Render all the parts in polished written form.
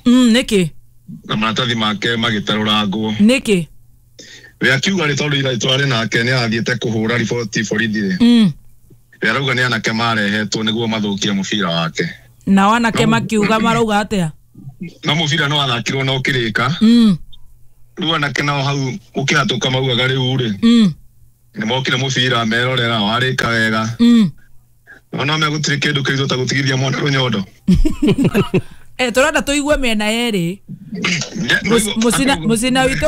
Nĩkĩ? Na maratathi make magĩtarũrangwo. Nĩkĩ? We akiuga rĩ tondũ ira twarĩ nake nĩ arathiĩte kũhũra riboti borithi rĩ. We arauga nĩ anake marehetwo nĩguo mathũkie mũbira wake. Nao anake makiuga marauga atĩa? No mũbira no athakirwo na ũkĩrĩka. Rĩu anake nao hau ũkĩhatũka maugaga rĩu rĩ. Nĩ mokire mũbira merorera warĩka wega. No no megũtirĩ kĩndũ kĩritũ ta gũtigithia mwana rũnyondo. Tũrenda tũigue mĩena yerĩ.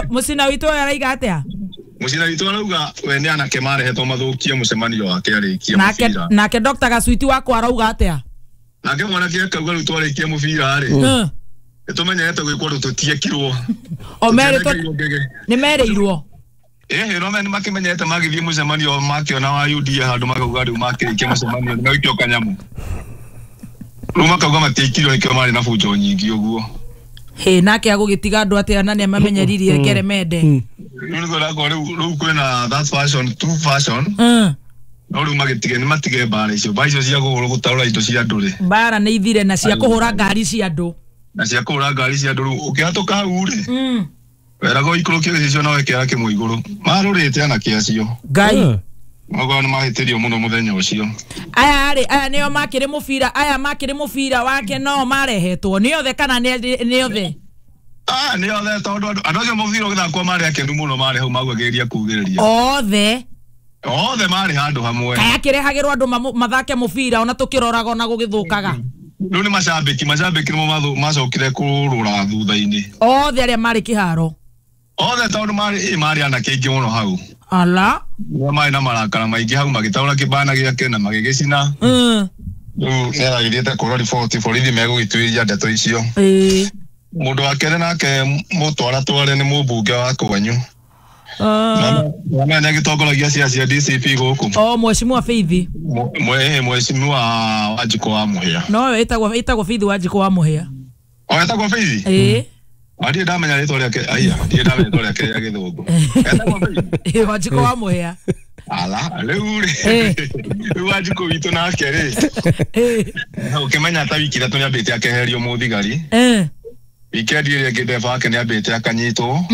Mũcina witũ araiga atĩa? Mũcina witũ arauga we nĩ anake marehetwo mathũkie mũcemanio wake arĩkie mũbira. Nake Dr. Gasuiti wakwa arauga atĩa? Nake mwanake akauga rĩu twarĩkia mũbira rĩ. Nĩtũmenyerete gwĩkwo ũndũ tũtiekirwo. O merĩtwo nĩ merĩirwo. No me nĩmakĩmenyerete magĩthiĩ mũcemanio makĩona wa UDA handũ makauga rĩu makĩrĩkia mũcemanio nĩmaikio kanyamũ. Rĩu makauga matiaikirio nĩkĩo marĩ na bunjo nyingĩ ũguo. Hĩ nake agũgĩtiga andũ atĩa na nĩamamenyeririe ngeremende. Rĩu nĩguo ndakora rĩu kwĩna that fashion, two fashion. No rĩu magĩtige nĩ matige mbara icio. Mbara icio cia gũtarũra indo cia andũ rĩ. Mbara nĩ ithire na cia kũhũra ngari cia andũ. Na cia kũhũra ngari cia andũ rĩu ũkĩhatũka hau rĩ. Weragwo ikũrũkie gĩcicio na wekĩra kĩmwe igũrũ. Marũrĩte anake acio. Ngai. Magoa nĩ mahĩtĩrio mũno mũthenya ũcio. Aya rĩ, aya nĩo makĩrĩ mũbira, aya makĩrĩ mũbira wake no marehetwo. Nĩ othe kana nĩ othe? Nĩ othe tondũ andũ acio mũbira ũgĩthakwo marĩ akenu mũno marĩ hau maugagĩrĩria kugĩrĩria. Othe. Othe marĩ handũ hamwe. Kaya kĩrehagĩrwo andũ mathake mũbira ona tũkĩroraga ona gũgĩthũkaga. Rĩu nĩ macambĩki nĩmo macokire kũrũra thutha-inĩ. Othe arĩa marĩ kĩharo. Othe tondũ marĩ anake aingĩ mũno hau. Ala. Marĩ na marakara maingĩ hau magĩtaũra kĩbana gĩake na magĩgĩcina. Rĩu nĩaragĩthiĩte kũhũra riboti borithi megũgĩtuĩria ndeto icio. Mũndũ wa kerĩ nake mũtwaratware nĩ mũmbunge wa kwanyu. Na nĩ agĩtongoragia ciaca cia DCP gũkũ. O Mheshimiwa Faith. Mheshimiwa Wanjikũ wa Mũhĩa. No ĩtagwo Faith Wanjikũ wa Mũhĩa. O etagwo Faith? Ĩĩ. Ndirĩ ndamenya rĩtwa rĩake, aiya, ndirĩ ndamenya rĩtwa rĩake rĩa gĩthũngũ. Etagwo Faith? Ĩĩ, Wanjikũ wa Mũhĩa. Ala, rĩu rĩ. Rĩu Wanjikũ witũ nake rĩ. Ũkĩmenya ta wiki ithatũ nĩambĩte akeherio mũthigari. Wikendi ĩrĩa ĩngĩ ndereba wake nĩambĩte akanyitwo.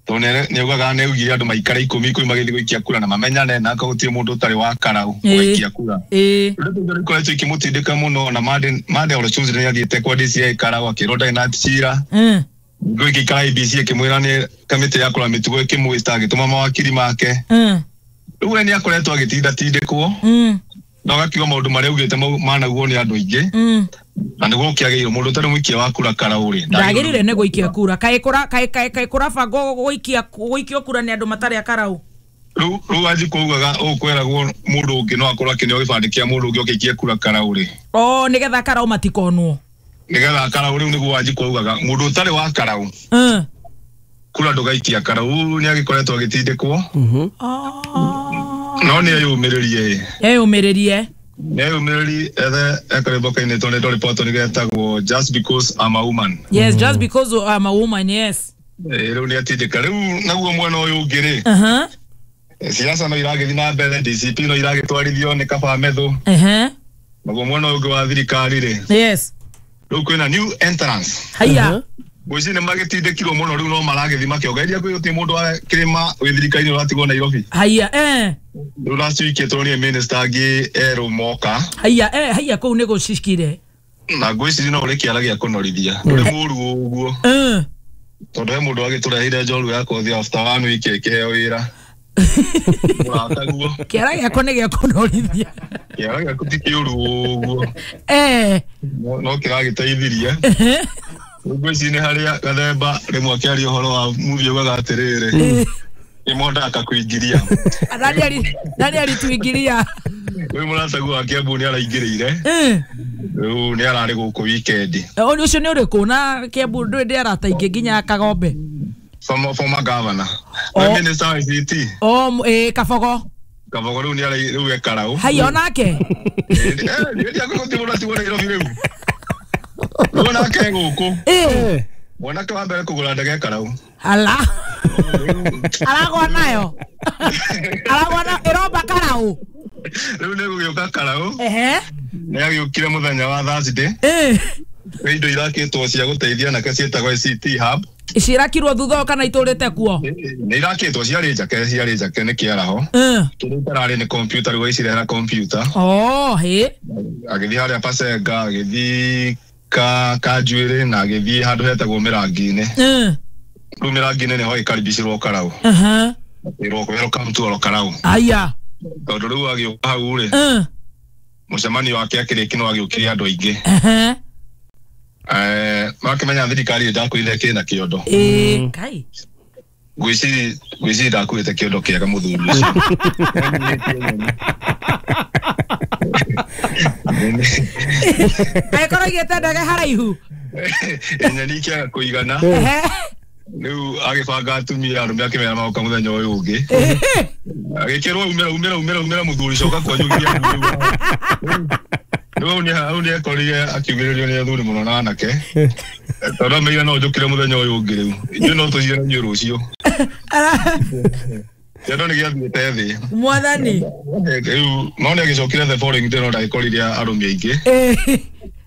Tondũ nĩaugaga nĩaugire andũ maikare ikũmi ikũmi magĩthiĩ gũikia kura na mamenyane na akorwo gũtirĩ mũndũ ũtarĩ wa karau gũikia kura. Rĩu ndeto ikoretwo ikĩmũtindĩka mũno na Monday or Tuesday nĩathiĩte kwa DCI karau akĩrwo ndarĩ na cira. Ngũĩ ĩgĩikara IEBC ĩkĩmwĩra nĩ kamĩtĩ ya kũrora mĩtugo ĩkĩmwĩta agĩtũma mawakiri make. Rĩu we nĩakoretwo agĩtindatindĩkwo. Na ũgakiuga maũndũ marĩa augĩte manaugwo nĩ andũ aingĩ. Na nĩguo ũkĩagĩrĩirwo mũndũ ũtarĩ mũikia wa kura karau rĩ. Ndagĩrĩire nĩ gũikia kura. Kaĩ kũrabangwo gũikio kura nĩ andũ matarĩ a karau? Rĩu Wanjikũ augaga ũkwĩragwo mũndũ ũngĩ no akorwo akĩneo gĩbandĩ kĩa mũndũ ũngĩ ũkĩikie kura karau rĩ. O nĩgetha karau matikonwo. Nĩgetha karau rĩu nĩguo Wanjikũ augaga mũndũ ũtarĩ wa karau. Kura ndũgaikia karau nĩ agĩkoretwo agĩtindĩkwo. No nĩ eyũmĩrĩrie. Eyũmĩrĩrie. Nĩ eyũmĩrĩrie ethe ekarĩmbo kainĩtwo nĩ Dolly Parton getagwo Just Because I'm a Woman. Yes, just because I'm a woman, yes. Rĩu nĩ atindĩka. Rĩu naguo mwena ũyũ ũngĩ rĩ. Siasa no iragĩthiĩ na mbere, DCP no iragĩtwarithio nĩ Kaba Methu. Naguo mwena ũyũ ũngĩ wa thirikari rĩ. Yes. Rĩu kwĩna new entrance. Haiya. Ngwĩciria nĩ magĩtindĩkirwo mũno rĩu no maragĩthiĩ makĩongereria kwĩ gũtirĩ mũndũ wa kĩrĩma wĩ thirikari-inĩ ũratigwo Nairobi. Haiya, Rĩu last week tũronire minister angĩ erũ moka. Haiya, haiya kũu nĩ gũcikire. Na ngwĩciria no ũrĩ kĩara gĩa kũnorithia. Ndũrĩ mũũru ũguo. Tondũ he mũndũ agĩtũreheire njorua ya kothi after one week ĩkĩheo wĩra. Mũrataguo. Kĩara gĩakwa nĩ gĩa kũnorithia. Kĩara gĩaku ti kĩũru ũguo. No kĩragĩteithirie. Ngwĩciria nĩ harĩa Gathemba rĩmwe akĩaria ũhoro wa movie augaga atĩrĩrĩ. Nĩmondaga kũingĩria. Nani alituingiria? Rĩu mũrataguo wa Kiambu nĩ araingĩrĩire. Rĩu nĩ ararĩ gũkũ weekend. Ũcio nĩ ũrĩkũ na Kiambu ndũĩ ndĩ arata aingĩ nginya Kagombe? Former governor. We minister wa ICT. Kabogo. Kabogo rĩu nĩ rĩu e karau. Haiya onake? Nĩ gũtirĩ mũndũ atigwo Nairobi rĩu. Rĩu onake e gũkũ. Mwanake wa mbere kũgũra ndege karau. Ala. Aragwa nayo. Aragwa na ĩromba karau. Rĩu nĩ gũgĩũka karau. Nĩ agĩũkire mũthenya wa Thursday. Indo irakĩtwo cia gũteithia anake ciĩtagwo ICT hub. Cirakirwo thutha kana itũrĩte kuo? Nĩ irakĩtwo ciarĩ njake nĩ kĩaraho. Kĩrĩa itararĩ nĩ computer, rĩu agĩcirehera computer. Oh, hĩ. Agĩthiĩ harĩa Pasenga, agĩthiĩ Kanjuĩrĩ na agĩthiĩ handũ hetagwo Mĩrangi-inĩ. Rĩu Mĩrangi-inĩ nĩho ĩkaribicirwo Karau. Ĩrwo welcome to Karau. Aya. Tondũ rĩu agĩũka hau rĩ. Mũcemanio wake akĩrĩki no agĩũkĩria andũ aingĩ. Makĩmenya thirikari ĩndakuire kĩna kĩondo. Kai. Ngwĩciria ndakuĩte kĩondo kĩega mũthuri ũcio. Angĩkorwo aigĩte ndege haraihu. Nyeni ikĩaga kũigana. Rĩu agĩbanga atumia arũme akĩmera magoka mũthenya ũyũ ũngĩ. Agĩkĩrwo umĩra mũthuri coka kwanyu nginya rĩu hau nĩ ekorire akiugĩrĩrio nĩ athuri mũno na anake. Tondũ ameire no njũkĩre mũthenya ũyũ ũngĩ rĩu. Ithuĩ no tũcire inyuĩ rũciũ. Kĩondo nĩ gĩathiĩte thĩ. Mwathani. Rĩu no nĩ agĩcokire the following day no ndagĩkorire arũme aingĩ.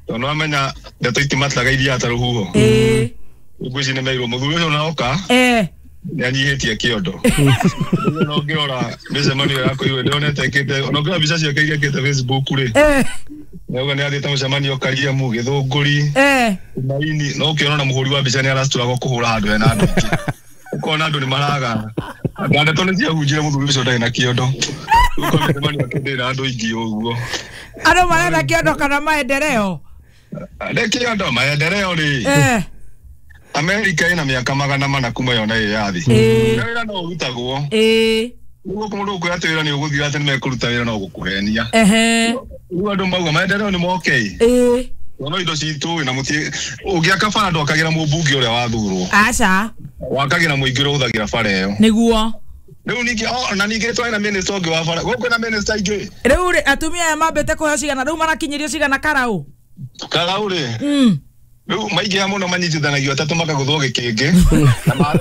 Tondũ amenya ndeto itimataga iria ta rũhuho. Ngwĩciria nĩ meirwo mũthuri ũcio na oka. Nĩ anyihĩtie kĩondo. No ngĩrora mĩcemanio ya kũigua ndĩronete ĩkĩte, ona ngĩrora mbica ciake iria ĩkĩte Facebook rĩ. Nĩauga nĩ athiĩte mũcemanio Kariamu, Gĩthũngũri, Maini, no ũkĩona na mũhũri wa mbica nĩ aracturagwo kũhũra handũ hena andũ aingĩ. Ũkona andũ nĩ maraga. Na ndeto nĩ ciahunjire mũthuri ũcio ndarĩ na kĩondo. Ũkona mĩcemanio yake ndĩrĩ na andũ aingĩ ũguo. Andũ marenda kĩondo kana maendeleo? Nĩ kĩondo, maendeleo rĩ. Amerika ĩna mĩaka 400 kuma yona ĩyathi. Wĩra no ũrutagwo. Nĩguo mũndũ ũkwĩra atĩ wĩra nĩ ũgũthira atĩ nĩmekũruta wĩra no gũkũhenia. Rĩu andũ mauga maendeleo nĩ moke. No indo citũ na mũtie ũngĩaka bara ndwakagĩra mũmbunge ũrĩa wathurwo. Aca. Wakagĩra mũingĩ ũrĩa ũhũthagĩra bara ĩyo. Nĩguo. Rĩu ningĩ ona ningĩ twarĩ na minister ũngĩ wa bara. Gũkũ na minister ingĩ. Rĩu rĩ atumia aya mambĩte kũheo cigana rĩu marakinyĩrio cigana Karau? Karau rĩ. Rĩu maingĩha mũno manyitithanagio atatũ makagũthwo gĩkĩngĩ.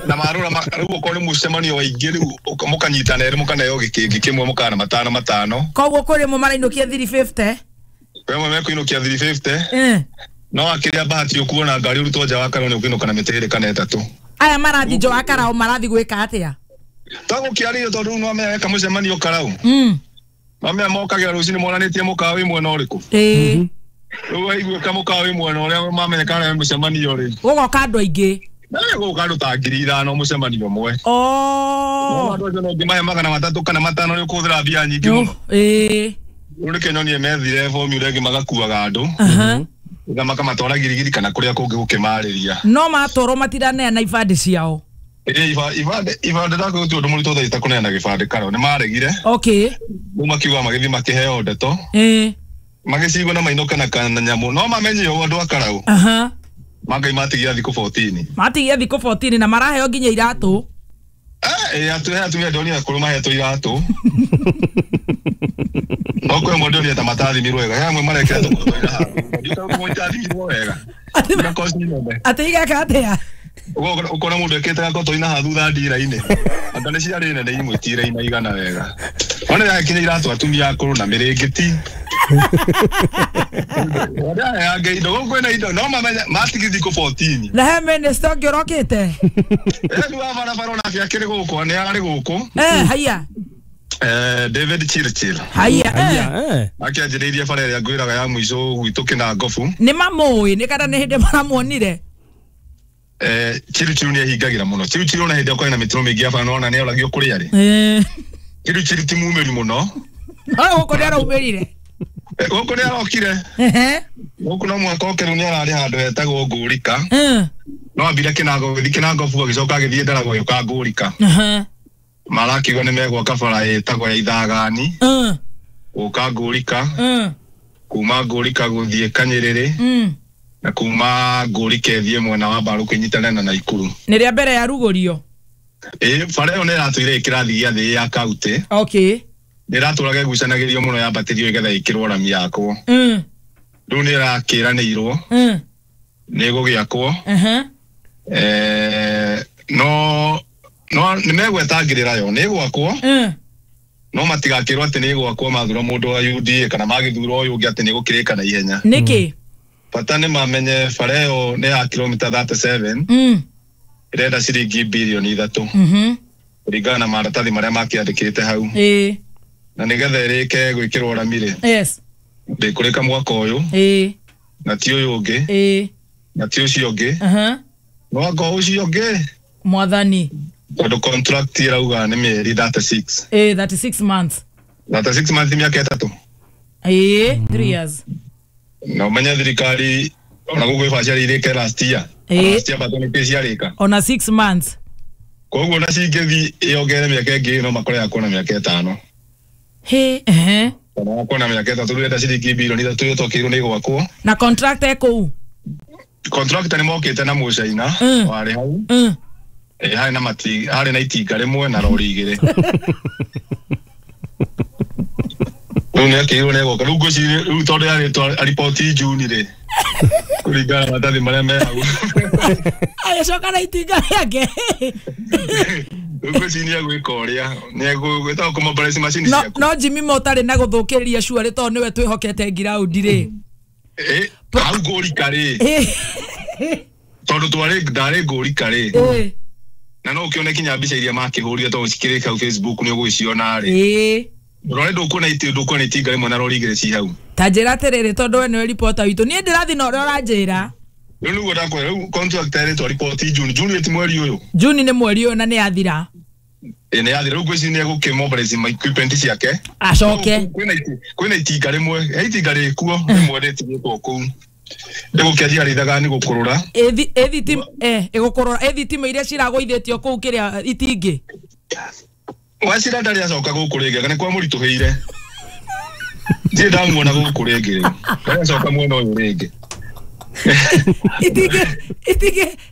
Na marũra rĩu okorwo nĩ mũcemanio wa aingĩ rĩu mũkanyitana erĩ mũkaneo gĩkĩngĩ kĩmwe mũkana matano matano. Koguo kũrĩ mwe marainũkia 350. Kwĩ amwe mekũinũkia 350. No akĩrĩa bahati ũkuona ngari ũrutwo nja wa Karau nĩ ũkũinũka na mĩtĩ ĩrĩ kana ĩtatũ. Aya marathi nja wa Karau marathi gwĩka atĩa? Tagũkĩarĩrio tondũ rĩu nĩwamenya weka mũcemanio Karau. Mamenya mokagĩra rũcinĩ monanĩtie mũkawa wĩ mwena ũrĩkũ. Rĩu waiguĩka mũkawa wĩ mwena ũrĩa mamenya kana mũcemanio rĩ. Gũgoka andũ aingĩ. Gũgoka andũ ta 5,000 mũcemanio ũmwe. Andũ acio no ũngĩmahe 300 kana 500 nĩ ũkũhũthĩra mbia nyingĩ mũno. Rĩu nĩkĩo nyonire methire formula ĩngĩ magakuaga andũ. Makamatwara Girigiri kana kũrĩa kũngĩ gũkĩmarĩria. No matwarwo matiraneana ibandĩ ciao. Ibandĩ ndakwĩra ti ũndũ mũritũ thaa ici ta kũneana gĩbandĩ Karau nĩ maregire. Rĩu makiuga magĩthiĩ makĩheo ndeto. Magĩcigwo na mainũke na kanyamũ no mamenye ũguo andũ a Karau. Mangai matigia thikũ 14. Matigia thikũ 14 na maraheo nginya iratũ. Atumia ndonire akũrũ mahetwo iratũ. No kwĩ amwe ndonire ta matathimirwo wega. He amwe marekĩra tũkoto ira handũ. Ndiũĩ kama itathimirwo wega. Atĩ igeka atĩa? Ũkona mũndũ ekĩte gakoto ina haha thutha ndira-inĩ. Anga nĩ ciarĩ nene imwe tira-inĩ igana wega. Ona yakinya iratũ atumia akũrũ na mĩrĩngĩti. Anga indo gũkũ kwĩna indo no mamenya matigie thikũ 14. Na he minister ũngĩ ũrokĩte? Rĩu wa barabara onake akĩrĩ gũkũ nĩ ararĩ gũkũ. Haiya. David Chirchir. Haiya. Akĩanjĩrĩirie bara ĩrĩa ngwĩraga ya mũico gwitũ Kĩnangobu. Nĩ mamũĩ nĩ kana nĩ hĩndĩ maramuonire? Chirchir nĩ ehingagĩra mũno. Chirchir ona hĩndĩ ĩrĩa kwarĩ na mĩtino mĩingĩ ya bara nĩwona nĩ oragio kũrĩa arĩ. Chirchir ti mumĩri mũno. No gũkũ nĩ araumĩrire. Gũkũ nĩ arokire. Gũkũ no mũhaka oke rĩu nĩ ararĩ handũ hetagwo Ngũrika. No ambire Kĩnango gũthiĩ Kĩnangobu agĩcoka agĩthiĩ Ndaragwa agĩũka Ngũrika. Marakiuga nĩ megwaka bara ĩtagwo ya Ithagani. Gũka Ngũrika. Kuma Ngũrika gũthiĩ Kanyĩrĩrĩ. Na kuma Ngũrika ĩthiĩ mwena wa Mbarũkũ ĩnyitane na Naikuru. Nĩ rĩa mbere yarugũrio? Bara ĩyo nĩ ĩratũire ĩ kĩrathi gĩa thĩ ya kauntĩ. Nĩ ĩratũraga ĩgucanagĩrio mũno yambatĩrio ĩgetha ĩkĩrwo rami yakwo. Rĩu nĩ ĩrakĩranĩirwo. Nĩ ĩgũgĩakwo. No nĩ megwetangĩrĩra yo nĩ ĩgwakwo. No matigakĩrwo atĩ nĩ ĩgwakwo mathura mũndũ wa UDA kana magĩthura ũyũ ũngĩ atĩ nĩ ĩgũkĩrĩka na ihenya. Nĩkĩ? Bata nĩ mamenye bara ĩyo nĩ ya kilomita 37. Ĩrenda ciringi bilioni 3. Kũringana na maratathi marĩa makĩandĩkĩte hau. Na nĩgetha ĩrĩke gwĩkĩrwo rami rĩ. Yes. Ndĩkũrĩka mwaka ũyũ. Na ti ũyũ ũngĩ. Na ti ũcio ũngĩ. Mwaka ũcio ũngĩ. Mwathani. Tondũ contract ĩrauga nĩ mĩeri 36. 36 months. 36 months mĩaka 3. 3 years. Na ũmenye thirikari ona gũkũ ĩbacĩrĩire irĩke last year. Last year bado nĩ ciarĩka. Ona 6 months. Koguo na cingĩthiĩ yongerere mĩaka ĩngĩ no makore yakwo na mĩaka 5. Kana yakwo na mĩaka 3 rĩu enda ciringi bilioni 3 twakĩirwo nĩ gwakwo. Na contract ĩkũu? Contract nĩ mokĩte na mũcaina warĩ hau. Harĩ na mati harĩ na itinga rĩmwe na rori 2. Rĩu nĩ akĩirwo nĩ gwoka. Rĩu ngwĩciria rĩu tondũ yarĩtwo riboti Juni rĩ. Kũringana na maratathi marĩa me hau. Agĩcoka na itinga rĩake. Rĩu ngwĩciria nĩ egwĩka ũrĩa. Nĩ egwĩtagwo kũmobilize macini ciaku. No Jimmy Mo ũtarĩ na gũthũkĩrĩria cuarĩ tondũ nĩwe twĩhokete ngiraundi rĩ. Hau ngũrika rĩ. Tondũ twarĩ ndarĩ ngũrika rĩ. Na no ũkĩone kinya mbica iria makĩhũrire tondũ cikĩrĩ hau Facebook nĩ ũgũciona rĩ. Rore ndũkuona ndũkuona itinga rĩmwe na rori 2 ci hau. Ta njĩra atĩrĩrĩ tondũ we nĩwe reporter witũ. Niĩ ndĩrathiĩ na ũrĩa ũranjĩra. Rĩu nĩguo ndakwĩra rĩu contract ĩrĩtwo riboti June. June ti mweri ũyũ. June nĩ mweri ũyũ na nĩ yathira. Nĩ yathira. Rĩu ngwĩciria nĩ egũkĩmobilize equipment ciake. Acoke. Kwĩna itinga rĩmwe. He itinga rĩkuo rĩmwe rĩtigĩtwo kũu. Ndĩgũkĩanjia rithaga nĩ gũkũrũra. Ĩgũkũrũra. Ĩthitima iria ciragũithĩtio kũu kĩrĩa itingĩ. Wacira ndarĩ acoka gũkũ rĩngĩ anga nĩ kwa mũritũhĩire. Ndirĩ ndamuona gũkũ rĩngĩ rĩu. Ndarĩ acoka mwena ũyũ rĩngĩ.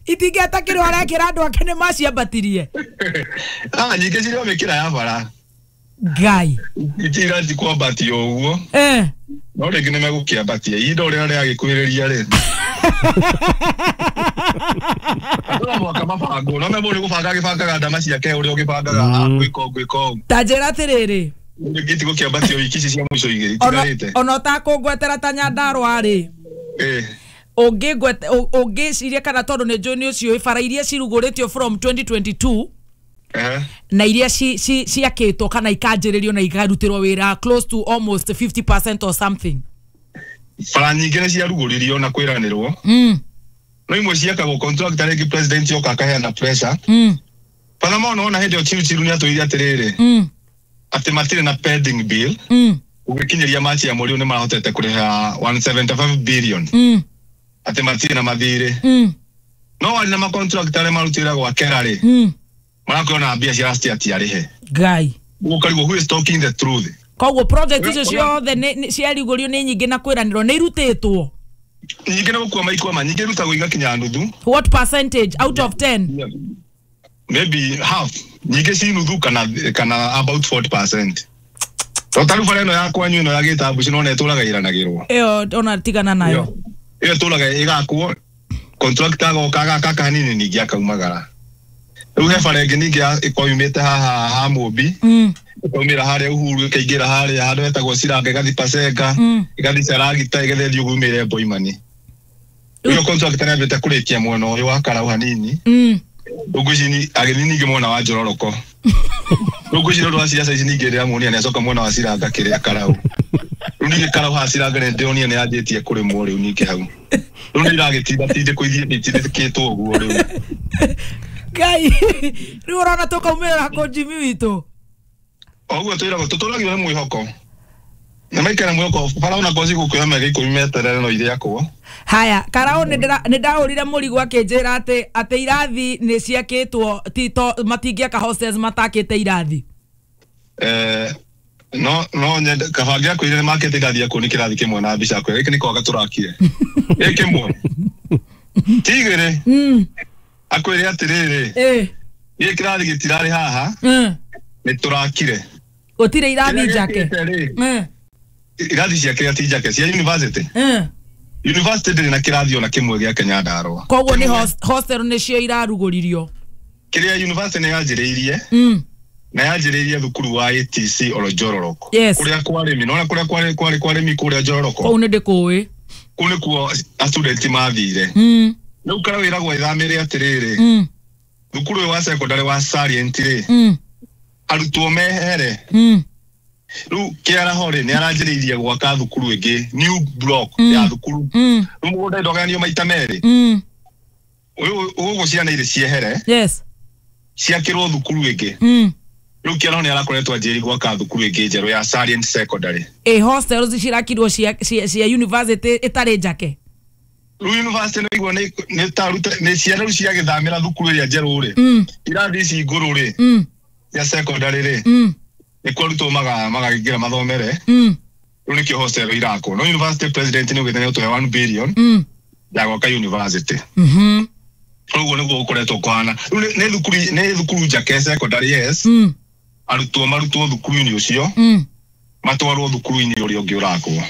Itingĩ atakĩrwo arekĩra andũ ake nĩ maciambatirie. Nyingĩ cirĩ o mĩkĩra ya bara. Ngai. Itirathiĩ kwambatio ũguo. No rĩngĩ nĩ megũkĩambatia. Ihinda ũrĩa rĩagĩkuhĩrĩria rĩ. Andũ no mũhaka mabangwo. No memũ nĩ gũbanga agĩbangaga ndama ciake ũrĩa ũgĩbangaga gwĩka ũũ gwĩka ũũ. Ta njĩra atĩrĩrĩ. Rĩngĩ itigũkĩambatio wiki ici cia mũico igĩrĩ itigarĩte. Ona ũtakũngwetera ta Nyandarũa rĩ. Ũngĩciria kana tondũ nĩ njũĩ nĩ ũciũĩ bara iria cirugũrĩtio from 2022 na iria ciakĩtwo kana ikanjĩrĩrio na ikarutĩrwo wĩra close to almost 50% or something. Bara nyingĩ nĩ ciarugũririo na kwĩranĩrwo. No imwe ciakagwo contract rĩngĩ president yoka akaheana pressure. Bara mona ona hĩndĩ ĩyo Chiru nĩ atwĩrire atĩrĩrĩ. Atĩ matirĩ na pending bill. Ũgĩkinyĩria Machi ya mweri ũyũ nĩ marahotete kũrĩha 175 billion. Atĩ matirĩ na mathirĩ. No warĩ na macontract arĩa marutĩra gwakera rĩ. Marakorwo mbia cia last year tiarĩhe. Ngai. Ũkarigwo who is talking the truth. Koguo project icio ciothe ciarugũrio nĩ nyingĩ na kwĩranĩrwo nĩ irutĩtwo. Nyingĩ nĩ gũkua maikwama, nyingĩ irutagwo igakinya nuthu. What percentage out of 10? Maybe half. Nyingĩ ci nuthu kana about 40%. To taru bara ĩno ya kwanyu ĩno ya gĩtambu ci nona ĩtũraga ĩranagĩrwo. Ĩyo ona tigana nayo. Ĩyo ĩtũraga ĩgakwo contractor agoka agaka hanini ningĩ akaumagara. Rĩu he bara ĩngĩ ningĩ ĩkoimĩte haha ha Mũmbi. Ĩkaumĩra harĩa Uhuru ĩkaingĩra harĩa handũ hetagwo Ciranga ĩgathiĩ Pasenga ĩgathiĩ Caragita ĩgathiĩ ũguo umĩre Boimani. Rĩu contractor nĩambĩte kũrĩkia mwena ũyũ wa Karau hanini. Rĩu ngwĩciria agĩthiĩ ningĩ mwena wa Njororoko. Rĩu ngwĩciria ũndũ wa ciaca ici ningĩ ndĩramuonia nĩacoka mwena wa Ciranga kĩrĩa Karau. Rĩu ningĩ Karau haha Ciranga nĩndĩronia nĩanjĩtie kũrĩmwo rĩu ningĩ hau. Rĩu nĩ iragĩtinda tindĩkwo ithiĩ itindĩkĩtwo ũguo rĩu. Ngai, rĩu ũrona tũkaumĩrĩra kũ Jimmy witũ? Oguo twĩragwo tũtũragio nĩ mwĩhoko. Na maikara mwĩhoko bara ona koci gũkuoya mĩaka 10 meterere no irĩakwo. Haya, Karau nĩ ndahũrire mũrigo akĩnjĩra atĩ irathi nĩ ciakĩtwo ti to matingĩaka hostels matakĩte irathi. No nyende kaba ngĩakwĩrire nĩ makĩte irathi akũo nĩ kĩrathi kĩmwe na mbica yakwa. Gĩkĩ nĩ kwaga tũrakire. Gĩkĩ kĩmwe. Ti igĩrĩ. Akwĩre atĩrĩrĩ. Gĩkĩ kĩrathi gĩtirarĩ haha. Nĩ tũrakire. Gũtirĩ irathi njake. Irathi ciake ti njake cia university. University ndĩrĩ na kĩrathi ona kĩmwe gĩa Nyandarũa. Koguo nĩ hostel nĩcio irarugũririo. Kĩrĩa university nĩ yanjĩrĩirie. Na yanjĩrĩirie thukuru wa ATC oro Njororoko. Yes. Kũrĩa kwarĩmi, nona kũrĩa kwarĩ kwarĩ kwarĩmi kũrĩa Njororoko. Kũu nĩ ndĩkũĩ. Kũu nĩkuo student mathire. Rĩu Karau ĩragwo ĩthamĩre atĩrĩrĩ, thukuru ũyũ wa secondary wa Salient rĩ, arutwo mehere. Rĩu Kĩaraho rĩ nĩ aranjĩrĩirie gwaka thukuru ĩngĩ, new block ya thukuru. Rĩu mũgũnda ndũgayanio maita merĩ. Ũyũ ũgũkũ ciana irĩ ciehere. Yes. Ciakĩrwo thukuru ĩngĩ. Rĩu Kĩaraho nĩ arakoretwo anjĩrĩirie gwaka thukuru ĩngĩ njerũ ya Salient Secondary. Ĩ hostels cirakirwo cia university ĩtarĩ njake. Rĩu university nĩguo nĩ taruta nĩ ciana rĩu ciagĩthamĩra thukuru ĩrĩa njerũ rĩ. Irathi ici ngũrũ rĩ. Ya secondary rĩ. Nĩkuo arutwo magakĩingĩra mathomere. Rĩu nĩkĩo hostel irakwo. No university president nĩ augĩte nĩ egũtũhe 1 billion ya gwaka university. Ũguo nĩguo gũkoretwo kũhana. Rĩu nĩ thukuru njake secondary, yes. Arutwo marutwo thukuru-inĩ ũcio, matwarwo thukuru-inĩ ũrĩa ũngĩ ũrakwo.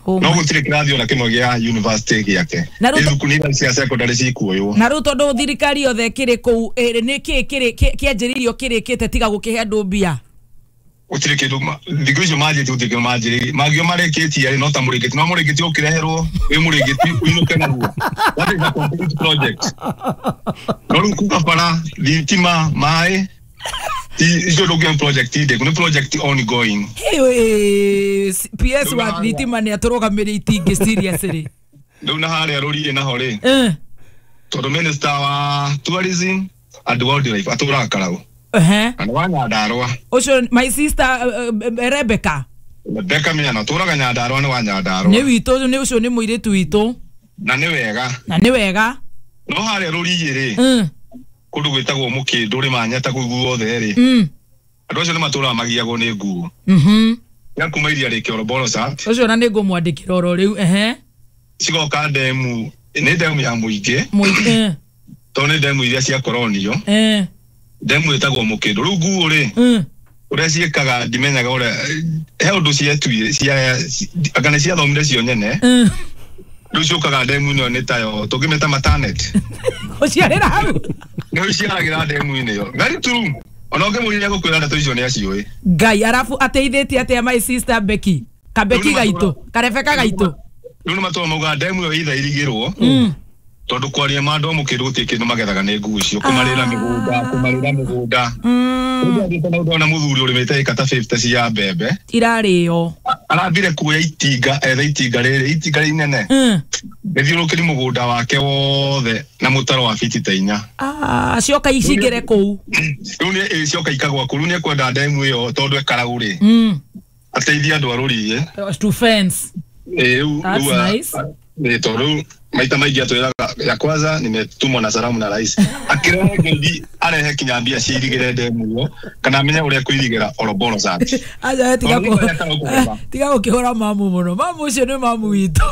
No gũtirĩ kĩrathi ona kĩmwe gĩa university gĩake. Nĩ thukuru iria cia secondary cikuoywo. Na rĩu tondũ thirikari yothe kĩrĩ kũu, nĩ kĩĩ kĩanjĩrĩirio kĩrĩkĩte tiga gũkĩhe andũ mbia? Gũtirĩ kĩndũ thikũ icio manjĩtie gũtirĩ kĩndũ manjĩrĩirie. Mangĩo marĩkĩtie rĩ no ta mũrĩngĩti, no mũrĩngĩti ũkĩreherwo wĩ mũrĩngĩti ũinũke naguo. That is a complete project. No rĩu kuga bara, thitima, maĩ, icio ndũngĩona project ndĩku, nĩ project ongoing. PS wa thitima nĩ atũrũgamĩrĩire itingĩ seriously. Rĩu na harĩa rũriĩ naho rĩ, tondũ minister wa tourism and wildlife atũraga Karau. Na wa Nyandarua. Ũcio my sister Rebecca. Rebecca Miano atũraga Nyandarua, nĩ wa Nyandarua. Nĩ witũ, nĩ ũcio nĩ mũirĩtu witũ. Na nĩ wega. Na nĩ wega. No harĩa rũriĩ rĩ, kũndũ gwĩtagwo Mũkĩndũ rĩ, Manyata kũu guothe rĩ, andũ acio nĩ matũraga magiagwo nĩ nguo. Ya kuma iria rĩ Kĩoroboro-Sat. Ũcio na nĩ ngũmwandĩkĩra oro rĩu. Cigoka ndemu, nĩ ndemu ya mũingĩ. Tondũ nĩ ndemu iria cia koronio. Ndemu ĩtagwo Mũkĩndũ. Rĩu nguo rĩ, ũrĩa ciĩkaga ndimenyaga ũrĩa, he ũndũ cietuire, anga nĩ ciathomire cio nyene. Rĩu ciũkaga ndemu ĩno nĩ tayo, tũngĩmĩta matanet. Ũciarĩra hau? Nĩ ũciaragĩra ndemu-inĩ ĩyo. Very true. Ona ũngĩmũria gũkwĩra ndeto icio nĩ aciũĩ. Ngai, arabu ateithĩtie atĩa my sister Becky? Kabeki gaitũ, Karebeka gaitũ. Rĩu nĩ matũra maugaga ndemu ĩyo either ĩrigĩrwo, tondũ kwaria ma andũ a Mũkĩndũ gũtirĩ kĩndũ magethaga nĩ nguo icio, kũmarĩra mĩgũnda, kũmarĩra mĩgũnda. Ũngĩathiĩte na ũndona mũthuri ũrĩmĩte ĩka ta 50 cia mbembe. Irarĩo. Arathire kuoya itinga, ethe itinga rĩrĩ, itinga inene. Rĩthiũrũrũkĩrie mũgũnda wake wothe na mũtaro wa fiti ta 4. Cioka icingĩre kũu. Rĩu nĩ cioka ikagwa kũu, rĩu nĩ ekwenda ndemu ĩyo tondũ e Karau rĩ. Ateithie andũ a rũriĩ. To fence. That's nice. Tondũ maita maingĩ atwĩraga ya kwanza nimetumwa na salamu na rais. Akĩrehe ngeithi arehe kinya mbia ciirigĩre ndemu ĩyo kana amenye ũrĩa kũirigĩra Oroborosat. Aja tiga gũkĩhũra mamu mũno. Mamu ũcio nĩ mamu witũ.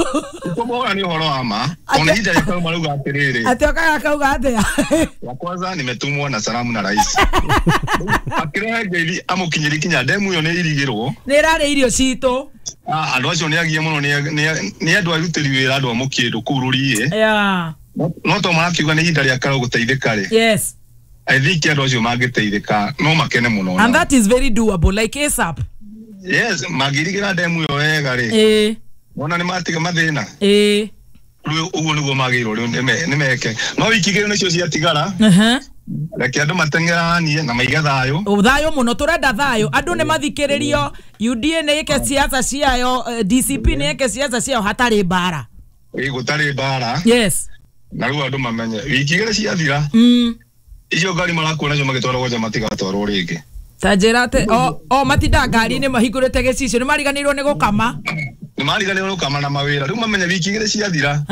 Kũmũhũra nĩ ũhoro wa ma. Ona ihinda rĩa kauma rauga atĩrĩrĩ. Atĩ okaga kauga atĩa? Ya kwanza nimetumwa na salamu na rais. Akĩrehe ngeithi amũkinyĩrie kinya ndemu ĩyo nĩ irigĩrwo. Nĩ ĩrarĩa irio citũ. Andũ acio nĩ agie mũno, nĩ andũ arutĩri wĩra andũ a Mũkĩndũ kũu rũriĩ. No to marakiuga nĩ ihinda rĩa Karau gũteithĩka rĩ. Yes. I think andũ acio mangĩteithĩka no makene mũno. And that is very doable, like ASAP. Yes, mangĩrigĩra ndemu ĩyo wega rĩ. Wona nĩ matiga mathĩna. Rĩu ũguo nĩguo magĩrĩirwo rĩu nĩ meke. No wiki igĩrĩ nĩcio ciatigara. Reke andũ mateng'eranie na maige thayũ. Thayũ mũno, tũrenda thayũ. Andũ nĩ mathikĩrĩrio, UDA nĩ ĩke siasa ciayo, DCP nĩ ĩke siasa ciayo hatarĩ mbara. Gũtarĩ mbara. Yes. Na rĩu andũ mamenye wiki igĩrĩ ciathira. Icio ngari marakuo nacio magĩtwarwo nja matigatwarwo rĩngĩ. Ta njĩra atĩ o matindaga ngari-inĩ mahingũrĩte gĩcicio, nĩ mariganĩirwo nĩ gũkama. Nĩ mariganĩirwo gũkama na mawĩra. Rĩu mamenye wiki igĩrĩ ciathira.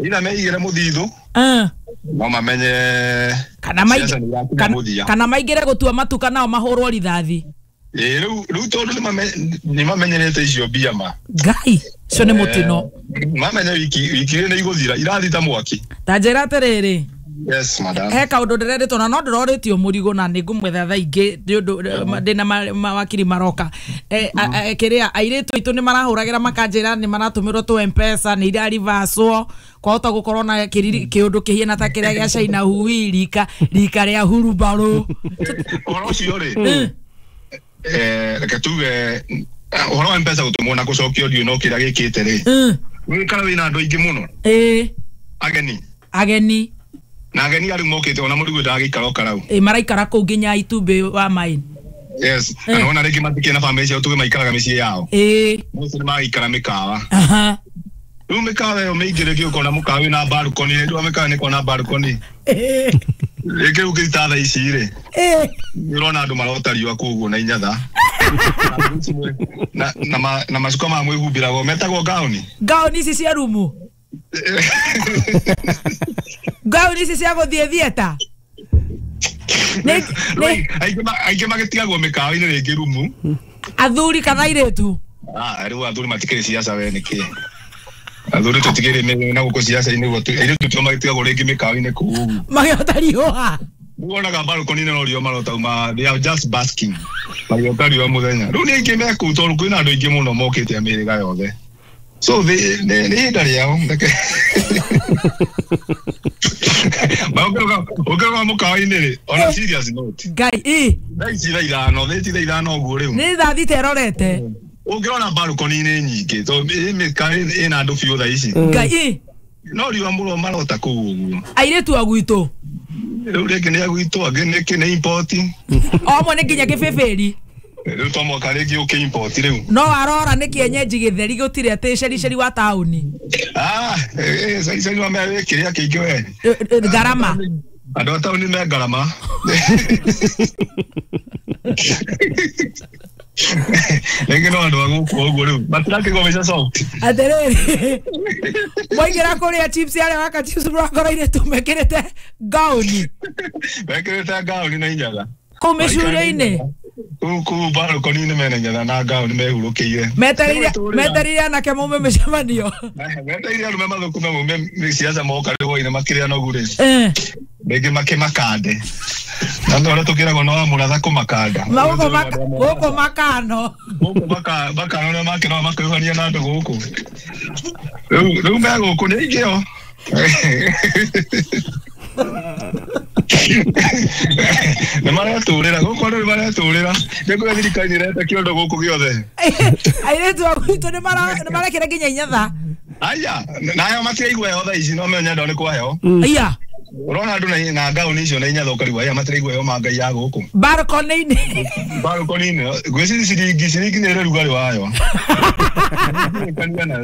Ira meigĩre mũthithũ. No mamenye kana maingĩre gũtua matuka nao mahũrwo rithathi. Rĩu tondũ nĩ mamenyerete icio mbia ma. Ngai, ũcio nĩ mũtino. Mamenye wiki igĩrĩ nĩ igũthira, irathi ta mwaki. Ta njĩra atĩrĩrĩ. Yes, madam. He kaũndũ ndĩrerĩtwo na no ndĩrorĩtio mũrigo na nĩ ngũmwetha thaa ingĩ nĩ ũndũ ndĩna mawakiri maroka. Kĩrĩa airĩtu aitũ nĩ marahũragĩra makanjĩra nĩ maratũmĩrwo tũ M-Pesa nĩ irarivacwo kwahota gũkorwo na kĩũndũ kĩhiana ta kĩrĩa gĩa China Hui rika rĩa hurubarũ. Ũhoro ũcio rĩ, reke tuge ũhoro wa M-Pesa gũtũmwo na gũcokio ndiũĩ no kĩrĩa gĩkĩte rĩ, Wikara wina andu aingi muno. Ageni. Ageni. Na ageni ariu mokite ona murigu ndagikara o karau. Maraikara kuu nginya itumbi wa maini. Yes, na ona ringi matikie na family ciao tuge maikaraga micii yao. Mose ni magikara mikawa. Riu mikawa iyo miingi ringi ukona mukawa wina balcony, riu mikawa ni kona balcony. Ringi ukita thaa ici ri. Urona andu marota riua kuu uguo na inyatha. Na macuka ma mwihumbiragwo metagwo gauni. Gauni ici cia rumu. Gauni ici cia guthie theater. Aingĩ magĩtigagwo mĩkawa-inĩ rĩngĩ rumu. Athuri kana airĩtu? Rĩu athuri matikĩrĩ ciaca we nĩkĩ? Athuri tũtikĩrĩ na gũkũ ciaca-inĩ ũguo, airĩtu tio magĩtigagwo rĩngĩ mĩkawa-inĩ kũu ũguo. Magĩota riũa. Wonaga balcony-inĩ no riũa marotauma, they are just basking. Magĩota riũa mũthenya. Rĩu nĩ aingĩ me kũu tondũ kwĩna andũ aingĩ mũno mokĩte a mĩhĩrĩga yothe. So nĩ ihinda rĩao. Ũngĩroga mũkawa-inĩ rĩ, on a serious note. Ngai, thaa ici thaa ithano, thaa ici thaa ithano ũguo rĩu. Nĩ thaa thita ĩrorete. Ũngĩrora balcony-inĩ nyingĩ, tondũ mĩkawa ĩna andũ biũ thaa ici. Ngai, no riũa mũro marota kũu ũguo. Airĩtu a gwitũ. Rĩu rĩngĩ nĩ a gwitũ, angĩ nĩ import. O amwe nĩ nginya kĩbĩbĩri. Rĩu to mwaka rĩngĩ ũkĩ import rĩu. No arora nĩ kĩenyenji gĩtheri gũtirĩ atĩ cericeri wa taũni. Cericeri wa me kĩrĩa kĩingĩ we. Ngarama. Andũ a taũni me ngarama. Rĩngĩ no andũ a gũkũ ũguo rĩu. Matirakĩgwo mbeca soft. Atĩrĩrĩ. Mwaingĩra kũrĩa chips arĩa waka chips mũrakora airĩtu mekĩrĩte gauni. Mekĩrĩte gauni na inyatha. Kũu mĩcurio-inĩ. Kũu balcony-inĩ mena inyatha na gauni mehurũkĩire. Metereire anake maume mĩcemanio. Metereire arũme mathũkũme maume ciaca moka rĩu hwaĩ-inĩ makĩrĩa nogu rĩ. Rĩngĩ makĩmakande. Na nĩ ũrĩa tũkĩragwo no wa mũratha kũmakanda. Gũkũ makano. Gũkũ makano nĩ makĩnoga makĩihũrania na andũ gũkũ. Rĩu me gũkũ nĩ aingĩ o. Nĩ maretũrĩra gũkũ andũ nĩ maretũrĩra. Nĩ kũrĩa thirikari nĩ ĩreta kĩondo gũkũ gĩothe. Airĩtu a gwitũ nĩ marekĩra nginya inyatha. Aya, nayo matiraigua heho thaa ici no menya andũ nĩ kwa heho. Aya. Ũrona andũ na ngauni icio na inyatha ũkarigwo aya matiraigua heho ma ngai ya gũkũ. Balcony-inĩ. Balcony-inĩ. Ngwĩciria ciringi nĩ ĩrĩ rugarĩ wayo.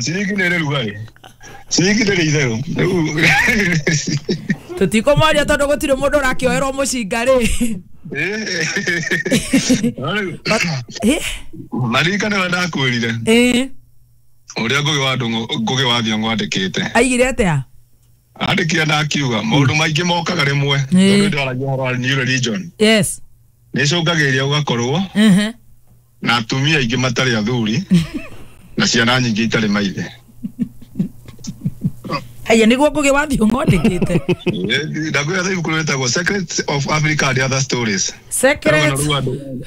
Ciringi nĩ ĩrĩ rugarĩ. Ciringi ndĩrĩ itherũ. Tũtikũmoria tondũ gũtirĩ mũndũ ũrakĩoerwo mũcinga rĩ. Maririkane ũrĩa ndakwĩrire. Ũrĩa Ngũgĩ wa Thiong'o andĩkĩte. Aigire atĩa? Andĩkire na akiuga maũndũ maingĩ mokaga rĩmwe tondũ ndĩraragia ũhoro wa new religion. Yes. Nĩ ĩcũngagĩrĩria gũgakorwo na atumia aingĩ matarĩ athuri na ciana nyingĩ itarĩ maithe. Haya nĩguo Ngũgĩ wa Thiong'o andĩkĩte. Ndakwĩra ibuku rĩtagwo Secrets of Africa and Other Stories. Secrets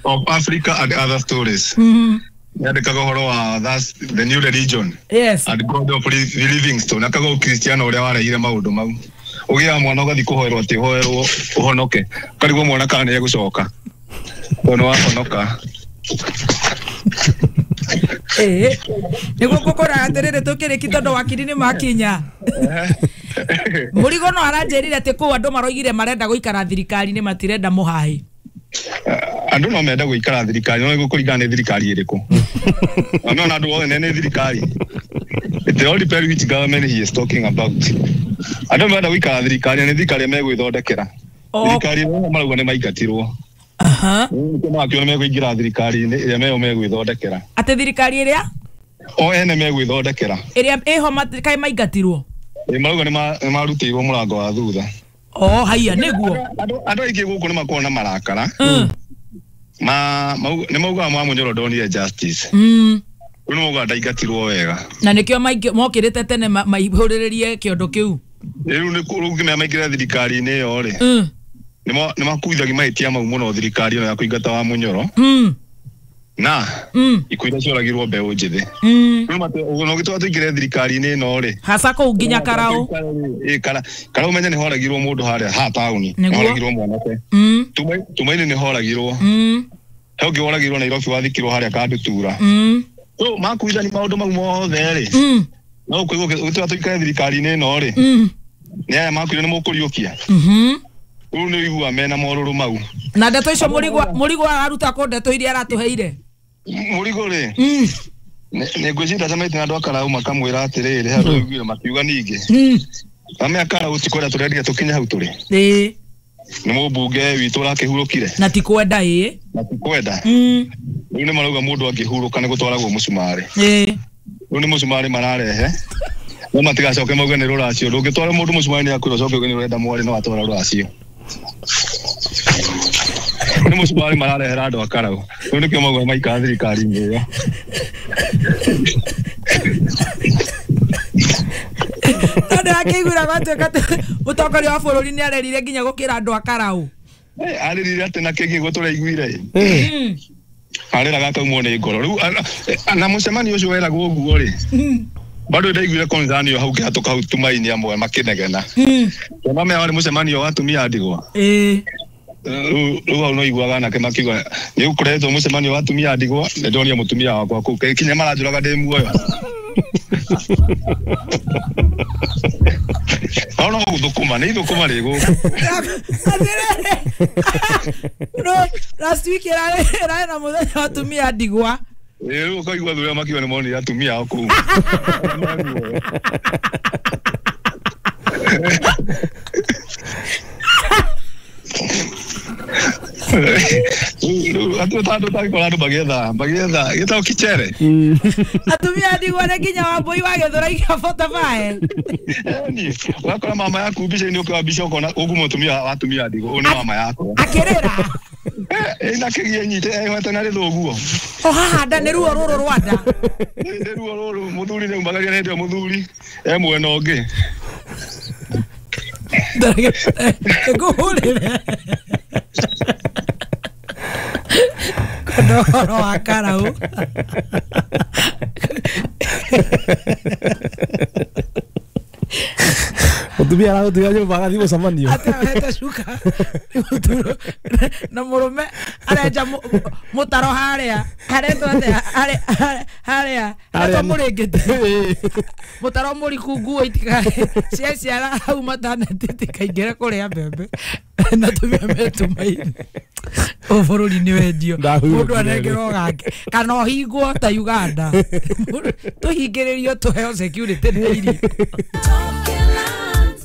of Africa and Other Stories. Yandĩkaga ũhoro wa that's the new religion. Yes. And God of Livingstone akaga Ukristiano ũrĩa warehire maũndũ mau. Ũgĩaga mwana ũgathiĩ kũhoerwo atĩ ũhoerwo ũhonoke. Ũkarigwo mwana kana nĩ egũcoka. Tondũ nĩ wahonoka. Nĩguo ngũkwĩraga atĩrĩrĩ tũkĩrĩki tondũ wakiri nĩ makinya. Mũrigo no aranjĩrire atĩ kũu andũ maroigire marenda gũikara thirikari-inĩ matirenda mũhahi. Andũ no menda gũikara thirikari no gũkũringana nĩ thirikari ĩrĩkũ. No na andũ othe nĩ thirikari. It all depends which government he is talking about. Andũ menda gũikara thirikari nĩ thirikari megwĩthondekera. Thirikari ĩrĩa marauga nĩ maingatirwo. Nĩkĩo makiona megũingĩra thirikari-inĩ ĩrĩa meyo megwĩthondekera. Atĩ thirikari ĩrĩa? O ene megwĩthondekera. Ĩrĩa ĩho kaĩ maingatirwo? Marauga nĩ marutĩirwo mũrango wa thutha. Oh, haiya nĩguo. Andũ aingĩ gũkũ nĩ makoragwo na marakara. Nĩ maugaga Mwamunyoro ndonire justice. Rĩu nĩ maugaga ndaingatirwo wega. Na nĩkĩo mokĩrĩte tene maihũrĩrĩrie kĩondo kĩu. Rĩu nĩ kũrũgimia maingĩre thirikari-inĩ ĩyo rĩ. Nĩ makuithagia mahĩtia mau mũno thirikari ĩno ya kũingata Wamunyoro. Na ikuũ iria cioragirwo mbeũ njĩthĩ. Rĩu no gĩtũma tũingĩre thirikari-inĩ ĩno rĩ. Hasa kũu nginya Karau. Karau menye nĩ horagirwo mũndũ harĩa ha taũni. Nĩ horagirwo mwanake. Tumaini nĩ horagirwo. He ũngĩ woragirwo Nairobi wathikirwo harĩa Kandutura. So makuithani maũndũ mau mothe rĩ. No ũkũigua ũgĩtwĩra tũikare thirikari-inĩ ĩno rĩ. Nĩ aya makuire nĩ mũkũriũkia. Rĩu nĩ ũigua mena morũrũ mau. Na ndeto icio mũrigo araruta kũ ndeto iria aratũheire? Mũrigo rĩ. Nĩ ngwĩciria ndacemanĩtie na andũ a Karau makamwĩra atĩrĩrĩ handũ ũiguire makiuga ningĩ. Ame a Karau ti kwenda tũrendire tũkinye hau tũrĩ. Ĩĩ. Nĩ mũmbunge witũ ũrakĩhurũkire. Na ti kwenda ĩĩ. Na ti kwenda. Rĩu nĩ marauga mũndũ angĩhurũka nĩ gũtwaragwo mũcumarĩ. Ĩĩ. Rĩu nĩ mũcumarĩ mararehe. No matigacoke mauge nĩ rũracio. Ndũngĩtwara mũndũ mũcumarĩ nĩ akwĩra ũcoke uge nĩ ũrenda mwarĩ no atwara rũracio. Nĩ mũcumarĩ mararehera andũ a Karau. Rĩu nĩkĩo mauga maikara thirikari-inĩ ĩyo. No ndĩrakĩiguĩra gwatuĩka mũtongoria wa bũrũri nĩ arerire nginya gũkĩra andũ a Karau. Arĩrire atĩ na kĩngĩ guo tũraiguire. Arĩraga akaumwo nĩ ngoro. Rĩu na mũcemanio ũcio weragwo ũguo rĩ. Bado ndaiguire concern ĩyo hau kĩhatũka hau Tumaini amwe makĩnegena. Tondũ maya warĩ mũcemanio wa atumia a ndigwa. Ĩĩ. Rĩu hau no iguaga anake makiuga nĩ ũkoretwo mũcemanio wa atumia a ndigwa nĩ ndonire mũtumia wakwa kũu kinya maranjũraga ndĩ muoyo. No no gũthũkũma nĩ ithũkũma rĩ gũkũ. Atĩrĩrĩ. No last week ĩrarĩ na mũthenya wa atumia a ndigwa. Ĩĩ rĩu ũkaigua thutha makiuga nĩ monire atumia ao kũu. Andũ tangĩkora andũ magĩetha gĩtagwo kichere. Atumia ndigwa nĩ nginya Wambũi wa Gĩthũrai kĩa 45. Ũgakora mama yaku mbica-inĩ ũkĩoya mbica ũkona ũguo mũtumia wa atumia ndigwa ũyũ nĩ mama yakwa. Akĩrĩra. Ĩna kĩgie nyite ehwete na rĩthũguo. O haha nda nĩ ruo rũrũ rwa nda. Nĩ ruo rũrũ mũthuri nĩ umagaria hĩndĩ ĩyo mũthuri e mwena ũngĩ. Ngũhũrĩre. Kwenda ũhoro wa Karau. Mũtumia aragũtiga nyũmba agathiĩ mũcemanio. Atewete cuka. Na mũrũme arenja mũtaro harĩa. Haretwo atĩa? Harĩa. Haretwo mũrĩngĩti. Mũtaro mũriku nguo cia ciara hau mataneti itikaingĩre kũrĩa mbembe. Na atumia metumaine. Ũyũ bũrũri nĩ wendio. Mũndũ anengerwo gake. Kana ũhingwo ta Uganda. Tũhingĩrĩrio tũheo security na irio.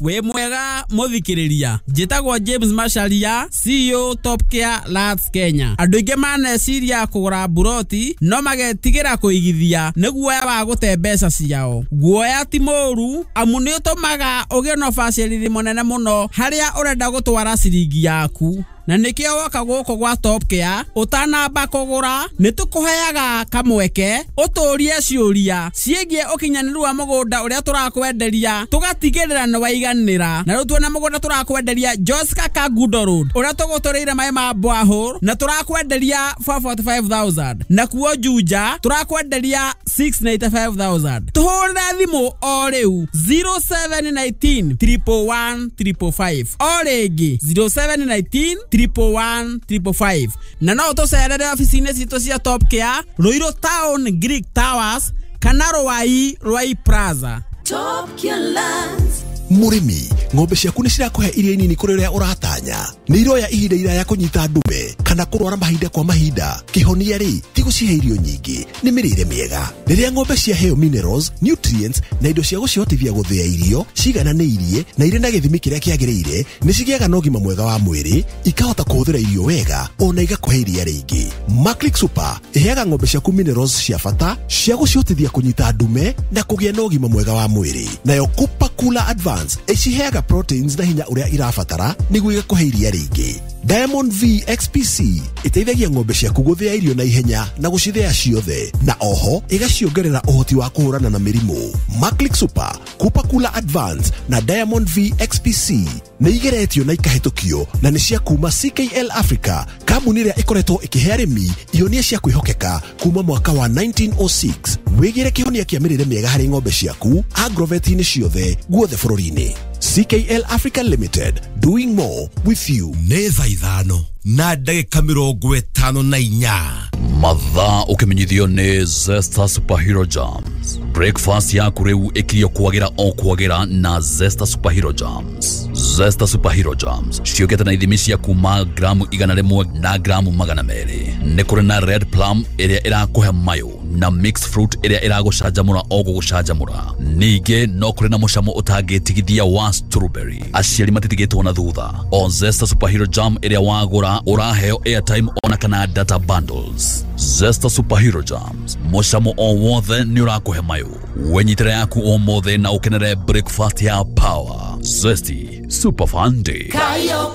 Wĩ mwega mũthikĩrĩria, njĩtagwo James Macharia, CEO Top Care Lands Kenya. Andũ aingĩ maneciria kũgũra mburoti no magetigĩra kũigithia nĩ guoya wa gũte mbeca ciao. Guoya ti mũũru amu nĩ ũtũmaga ũgĩe na ũbacĩrĩri mũnene mũno harĩa ũrenda gũtwara ciringi yaku. Na nĩkĩo woka gũkũ gwa Top Care ũtanamba kũgũra nĩ tũkũheaga kamweke ũtũrie ciũria ciĩgiĩ ũkinyanĩru wa mũgũnda ũrĩa tũrakwenderia tũgatigĩrĩra nĩ waiganĩra. Na rĩu tuona mũgũnda tũrakwenderia Joska Kangundo Road ũrĩa tũgũtũrĩire maĩ ma borehole na tũrakwenderia 445,000, nakuo Juja tũrakwenderia 695,000. Tũhũrĩre thimũ o rĩu 0719 111 555 o rĩngĩ 0719 111 555. Na no ũtũcerere ofici-inĩ citũ cia Top Care Ruiru Town Greek Towers kana Ruai Ruai Plaza. Top Care Lands. Mũrĩmi, ng'ombe ciaku nĩ cirakũhe iria nini kũrĩ ũrĩa ũratanya. Nĩ iroya ihinda iraya kũnyita ndume kana kũrwara mahinda kwa mahinda. Kĩhonia rĩ ti gũcihe irio nyingĩ, nĩ mĩrĩre mĩega. Rĩrĩa ng'ombe ciaheo minerals, nutrients na indo cia gũcihotithia gũthĩa irio cigananĩirie na irĩ na gĩthimi kĩrĩa kĩagĩrĩire, nĩ cigĩaga na ũgima mwega wa mwĩrĩ, ikahota kũhũthĩra irio wega ona igakũhe iria rĩingĩ. Maclick Super ĩheaga ng'ombe ciaku minerals cia bata cia gũcihotithia kũnyita ndume na kũgĩa na ũgima mwega wa mwĩrĩ. Nayo Cooper Cooler Advance ĩciheaga proteins na hinya ũrĩa irabatara nĩguo igakũhe iria rĩingĩ. Diamond V XPC ĩteithagia ng'ombe ciaku gũthĩa irio na ihenya na gũcithĩa ciothe, na oho ĩgaciongerera ũhoti wa kũhũrana na mĩrimũ. Maclick Super, Cooper Cooler Advance na Diamond V XPC nĩ igeretio na ikahĩtũkio na nĩ cia kuma CKL Africa, kambuni ĩrĩa ĩkoretwo ĩkĩhe arĩmi ihonia cia kwĩhokeka kuma mwaka wa 1906. Wĩgĩre kĩhonia kĩa mĩrĩre mĩega harĩ ng'ombe ciaku agrovet-inĩ ciothe guothe bũrũri-inĩ. CKL Africa Limited, doing more with you. Nĩ thaa 5 na ndagĩka 54. Mathaa ũkĩmenyithio nĩ Zesta Superhero Jams. Breakfast yaku rĩu ĩkirio kwagĩra o kwagĩra na Zesta Superhero Jams. Zesta Superhero Jams ciũkĩte na ithimi cia kuma gramu 100 na gramu 200. Nĩ kũrĩ na red plum ĩrĩa ĩrakũhe mayũ na mixed fruit ĩrĩa ĩragũcanjamũra o gũgũcanjamũra. Ningĩ no kũrĩ na mũcamo ũtangĩtigithia wa strawberry. Aciari matitigĩtwo na thutha. O Zesta Superhero Jam ĩrĩa wagũra ũraheo airtime ona kana data bundles. Zesta Superhero Jams, mũcamo o wothe nĩ ũrakũhe mayũ. Wenyitĩra yaku ũmũthĩ na ũkenere breakfast ya power. Zesty Super Fun Day. Kayo.